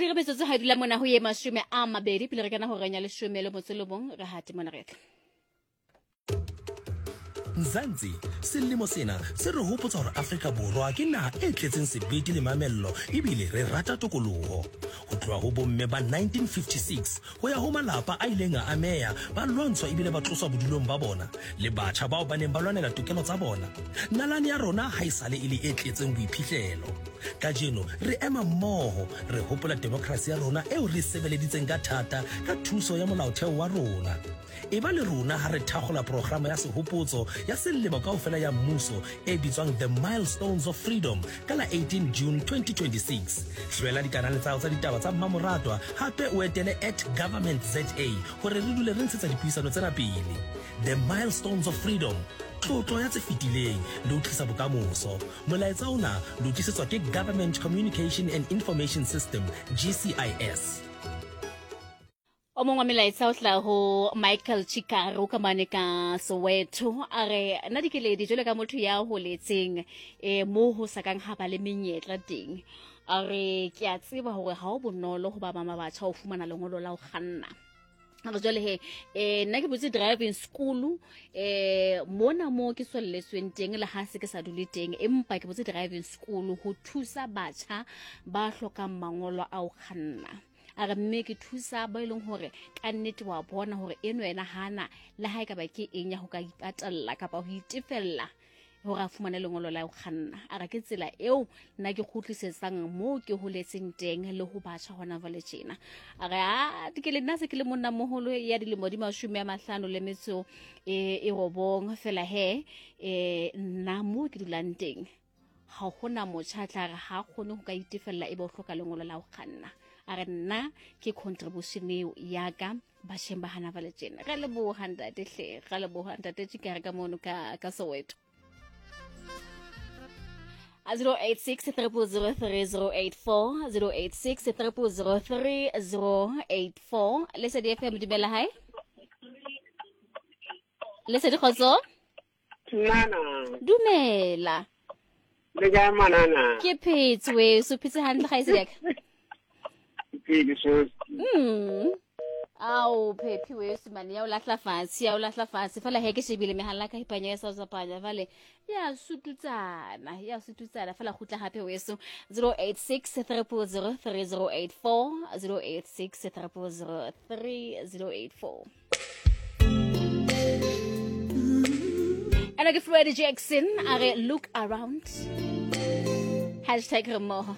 Re metsotso ha e dula mona ho ye 20 pele re kena horeng ya leshome le motso le bong, re hate mona re tla. Mzansi, selemo sena se re hopotsa hore Afrika Borwa ke naha e tletseng sebete le mamello ebile re rata tokoloho. Ho tloha ho bomme ba 1956 ho ya ho malapa a ileng a ameha, ba lwantshwa ebile ba tloswa bodulong ba bona, le batjha bao ba neng ba lwanela tokelo tsa bona. Nalane ya rona ha esale e le e tletseng boiphihlelo. Kajeno re ema mmoho, re hopola demokrasi ya rona eo re e sebeleditseng ka thata ka thuso ya Molaotheo wa rona. Eba le rona ha re thakgola programa ya sehopotso ya selemo kaofela ya mmuso e bitswang The Milestones of Freedom ka la 18 June 2026. Hlwela dikanale tsa hao tsa ditaba tsa mmamoratwa hape o etele at government za hore re dule re ntshetsa dipuisano tsena pele. The Milestones of Freedom, tlotlo ya tse fetileng le ho tlisa bokamoso. Molaetsa ona le o tlisetswa ke Government Communication and Information System, GCIS. O mongwe wa melaetsa o tla ho Michael Chikaro ka mane ka Soweto, a re nna Dikeledi jwalo ka motho ya holetseng um mo ho sa kang ha ba le menyetla teng, a re ke a tseba hore ha o bonolo ho ba mama batjha ho fumana lengolo la ho kganna. A re jwale he um nna ke botse driving school um mona mo ke tswelletsweng teng le ha se ke sa dule teng, empa ke botse driving school ho thusa batjha ba hlokang mangolo a ho kganna. A re mme ke thusa ba e leng hore ka nnete wa bona hore eno ena hana le ha e ka ba ke eng ya ho ka ipatalla kapa ho itefella hore a fumane lengolo la ho kganna. A re ke tsela eo nna ke kgutlisetsang moo ke holetseng teng le ho batjha hona jwale tjena. A re a ke le nna se ke le monna moholo ya dilemo di 50 le metso e 9 fela he nna moo ke dulang teng ga gona motšha a tla re ga a kgone go ka itefelela e be o hloka lengolo la go kganna. A re nna ke contribution eo yaka batšheng ba gana bale tjena. Re leboga ntate hle, re leboga ntate Tšikare ka mono ka Soweto. 086 0003084, 086 0003084. Lesedi FM, dumela. Hae Lesedi, kgotso. Nana. Dumela. Le kae manana? Ke phetse weso, phetse hantle ga ise yaka. Ke so. Ao phephi weso mane ya o lahla fatshe, ya o lahla fatshe. Fela he ke shebile mehala ka ipanya ya sa tsapanya vale. Ya sututsana, ya sututsana fela gutla hape weso. 086 300 3084, 086 300 3084. Ena ke Freddie Jackson a re look around. Hashtag re mmoho.